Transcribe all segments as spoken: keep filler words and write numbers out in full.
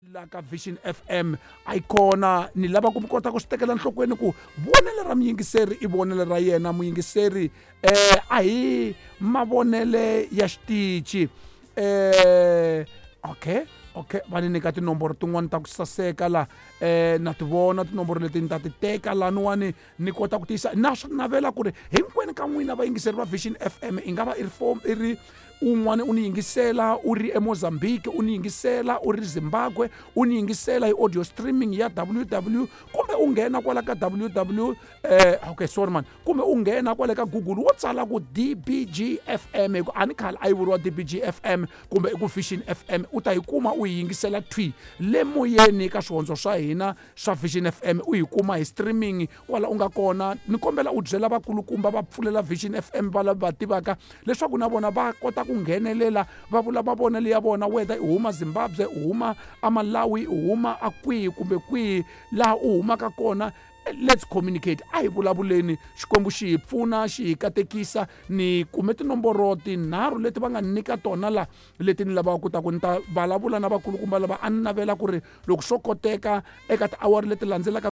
La ka Vision F M a yi kona ni lava ku mi kota ku swi tekela nhlokweni ku vonelo ra muyingiseri i vonelo ra yena muyingiseri eh a hi mavonele ya xitichi eh okay okay va ni nyika tinomboro tin'wani ta ku saseka la eh na ti vona tinomboro leti ni ta ti teka laniwani ni kota ku tiyisa na swi navela ku ri hinkwenu ka n'wina vayingiseri va Vision F M i nga va i ri form i ri un'wana u ni yingisela u ri eMozambique u ni yingisela u ri Zimbabwe u ni yingisela hi audio streaming ya W W kumbe u nghena kwala ka W W eh okay sorry man kumbe u nghena kwala ka Google wo tsala ku D B G F M hi ku a ni khale a yi vuriwa D B G F M kumbe i ku Vision F M u ta yi kuma u yi yingisela thwi le moyeni ka swihondzo swa hina swa Vision F M u yi kuma hi streaming kwala u nga kona ni kombela u byela vakulukumba va pfulela Vision F M va lava va tivaka leswaku na vona va kota ku nghenelela va vula mavonelo ya vona whether i huma Zimbabwe u huma aMalawi u huma a kwihi kumbe kwihi laha u humaka kona. Let's communicate a hi vulavuleni Xikwembu xi hi pfuna xi hi katekisa ni kume tinomboro tinharhu leti va nga nyika tona la leti ni lavaka ku ta ku ni ta vulavula na vakulukumba lava a ni navela ku ri loko swo koteka eka tiawara leti landzelaka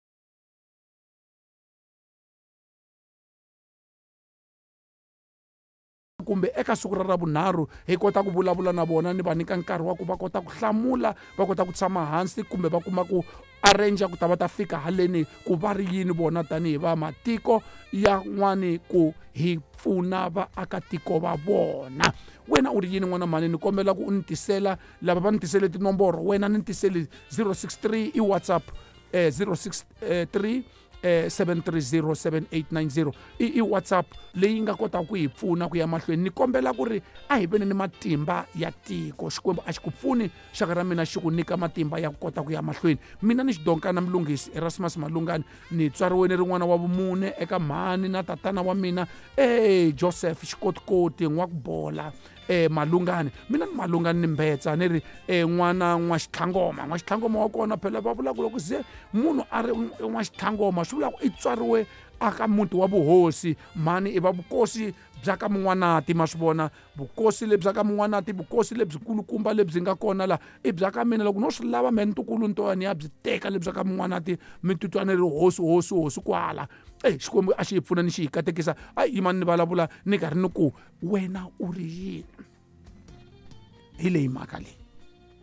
kumbe eka siku ra ravunharhu hi kota ku vulavula na vona ni va nyika nkarhi wa ku va kota ku hlamula va kota ku tshama hansi kumbe va kuma ku arrange ku ta va ta fika haleni ku va ri yini vona tanihi va matiko ya n'wani ku hi pfuna vaakatiko va vona. Wena u ri yini n'wana mhani ni kombela ku u ni tisela lava va ni tisele tinomboro wena ni tisele zero six three i WhatsApp eh, zero six three eh, seven three zero seven eight nine zero i, i WhatsApp leyi nga kota ku hi pfuna ku ya mahlweni ni kombela ku ri a hi veni ni matimba ya tiko Xikwembu a xi ku pfuni xaka ra mina xi ku nyika matimba ya ku kota ku ya mahlweni mina ni xidonkana Mlungisi Erasmus Malungani ni tswariweni rin'wana wa vumune eka mhani na tatana wa mina eh Joseph Xikotikoti N'wakubola eh Malungani mina ni Malungani ni mbetsa ni ri eh n'wana n'wa Xitlhangoma n'wa Xitlhangoma wa kona phela va vula ku loko se munhu a ri n'wa Xitlhangoma swi vula ku i tswariwe aka muti wa vuhosi mhani i va vukosi bya ka Mun'wanati ma swi vona vukosi lebyi ka Mun'wanati vukosi lebyikulukumba lebyi nga kona la i bya ka mina loko no swi lava me ntukulu ntoyani ya byi teka lebyi ka Mun'wanati mi titwa ni ri hosi hosi hosi kwala eh Xikwembu a xi hi pfuna ni xi hi katekisa a yimani ni vulavula ni karhi ni ku wena u ri yini hi leyi mhaka leyi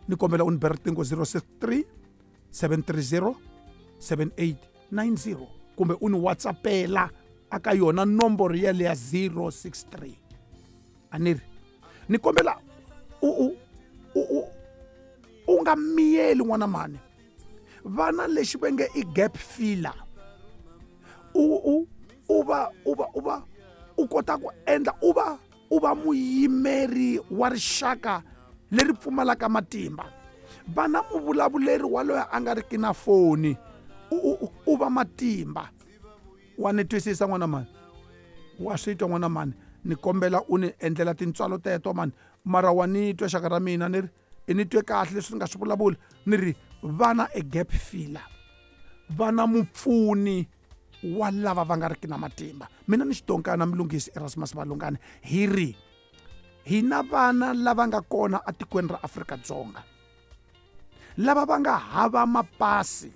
ni kombela u ni bela riqingho zero six three seven three zero seven eight nine zero kumbe u ni WhatsAppela aka yona nomboro ya leya zero six three a ni ri ni kombela u u u u nga miyeli n'wana mhani vana lexi va nge i gap filler u u u va u va u va u kota ku endla u va u va muyimeri wa rixaka leri pfumalaka matimba vana muvulavuleri wa loyi a nga riki na foni u u va matimba wa ni twisisa n'wana mhani wa swi twa n'wana mhani ni kombela u ni endlela tintswalo teto mani mara wa ni twa xaka ra mina ni ri i ni twe kahle leswi ni nga swi vulavula ni ri vana e gap filler vana mupfuni wa lava va nga riki na matimba mina ni xidonkana Mlungisi Erasmus Malungani hi ri hi na vana lava nga kona etikweni ra Afrika-Dzonga lava va nga hava mapasi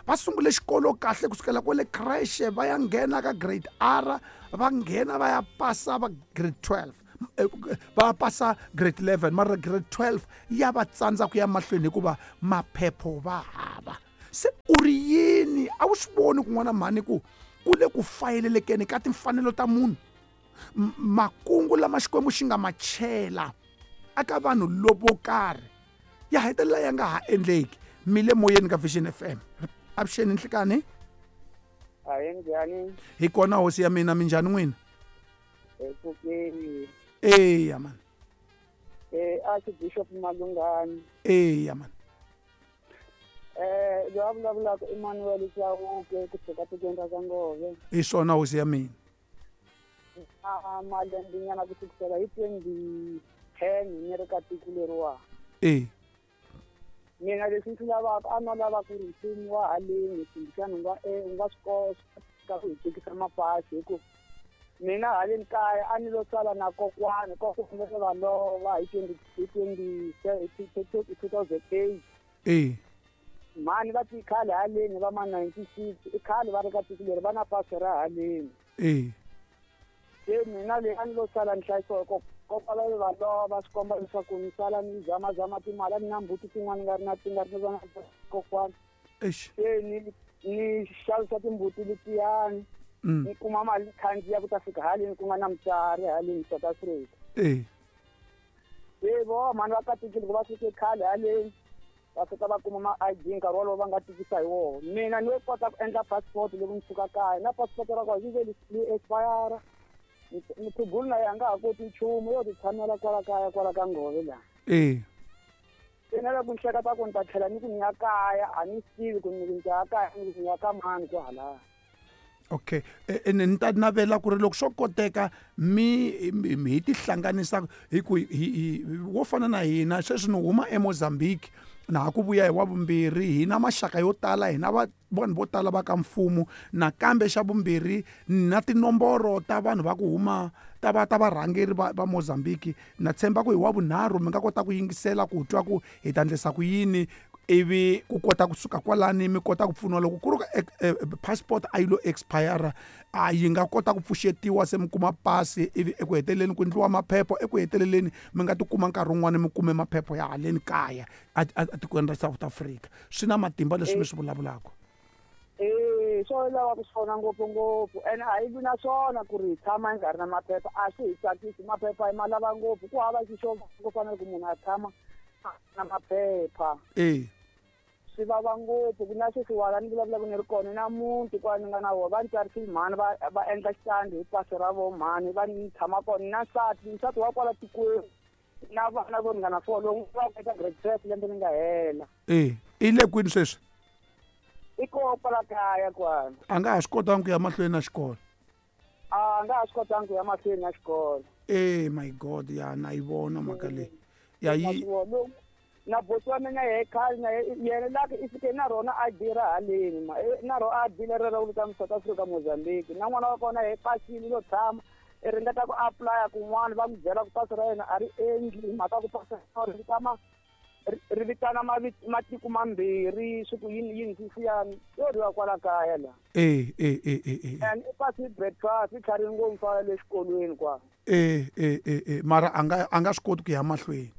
va sungule xikolo kahle kusukela kwale creche va ya nghena ka grade R va nghena va ya pasa va grade twelve va pasa grade eleven mara grade twelve ya va tsandza ku ya mahlweni hikuva maphepho va hava se u ri yini a wu swi voni kun'wana mhani ku ku le ku fayelelekeni ka timfanelo ta munhu makungu lama Xikwembu xi nga ma chela aka vanhu lovo karhi ya hetelela ya nga ha endleki mi le moyeni ka Vision F M avuxeni nhlikani ahi njhani hi kona hosi ya mina minjhani n'wina epfukeni eya mani eh Archbishop Malungani eya mani eh loyi a vulavulaka Emmanuel Chauke kusuka tikweni ra Kangove hi swona hosi ya mina a malembenyana ku sukisela hi twenty ten ni ri ka tiko leriwa e mina leswi ndzi lavaka a no lava ku ri mfumo wa haleni kumbexana u nga u nga swi kota ku hi tekisa mapasi hi ku mina haleni kaya a ni lo sala na kokwana kokwana va lova hi twenty hi twenty two thousand eight e Mhani va ti khale haleni va ma ninety-six i khale va ri ka tiko leri va na pasi ra haleni. E Se mina leyi a ni lo sala ni hlayisiwa hi kokwalaho va lova swi komba leswaku ni sala ni zamazama timali a ni na mbuti tin'wana nga ri na ti nga ri na kokwana. Eish. Se ni ni xavisa timbuti letiyani ni kuma mali khandziya ku ta fika haleni ku nga na mutswari haleni South Africa. E Se vo mhani va katekile ku va fike khale haleni va fika va kuma ma I D nkarhi wolowo va nga tikisa hi wona. Mina ni kota ku endla passport loko ni suka kaya na passport ra kona yi ve li expire. Mukhegulu na yena a nga ha koti nchumu yo ti tshamela kwala kaya kwala ka ngove laha. E Se na loko ni hleketa ku ni ta tlhela ni ku ni ya kaya a ni swi tivi ku ni ku ni ta ya kaya ni ku ni ya ka mani kwahalaya. Okay, ene ni ta navela ku ri loko swo koteka mi hi tihlanganisa hi ku hi wo fana na hina sweswi ni huma eMozambique na ha ku vuya hi wa vumbirhi hi na maxaka yo tala hi na vanhu vo tala va ka mfumo nakambe xa vumbirhi na tinomboro ta vanhu va ku huma ta va ta varhangeri va va Mozambique na tshemba ku hi wa vunharhu mi nga kota ku yingisela ku twa ku hi ta endlisa ku yini ivi ku kota kusuka kwalani mi kota ku pfuniwa loko ku ri passport a yi lo expire a yi nga kota ku pfuxetiwa se mi kuma pasi ivi eku heteleleni ku endliwa maphepha eku heteleleni mi nga tikuma nkarhi wun'wani mi kume maphepha ya haleni kaya etikweni ra South Africa. Swi na matimba leswi mi swi vulavulaka. Eh swo lava ku swona ngopfungopfu ene a yi vi na swona ku ri hi tshama hi nga ri na maphepha a swi hi tsakisi maphepha hi ma lava ngopfu ku hava xixo ku fanele ku munhu a tshama na maphepha. E swi vava ngopfu ku na sweswiwala ni vulavulaka ni ri kona na muti kwala ni nga na wona va ni tsarisile mhani va va endla xitandi hi pasi ra vo mhani va ni tshama kona na nsati nsati wa kwala tikweni na vana vo ringana four lowu va eka grade twelve lembe ri nga hela. E i le kwini sweswi? I koho kwala kaya kwala. A nga ha swi kotangi ku ya mahlweni na xikolo? A nga ha swi kotangi ku ya mahlweni na xikolo. E my God, ya na yi vona mhaka leyi. Ya yi na boti wa mina yehe khale na yena laki i fike na rona I D ra haleni ma na ro I D leri ra ku vitana South Africa Mozambique na n'wana wa kona he pasile lo tshama i ringeta ku apply kun'wana va n'wi byela ku pasi ra yena a ri endli mhaka ku pasi ri vitana ri vitana matiko mambirhi swi ku yini yini swisiyani yo riwa kwala kaya laha. E e e e and i pasi breakfast i tlharini ngopfu mfana le xikolweni kwala. E e e e mara a nga a nga swi koti ku ya mahlweni.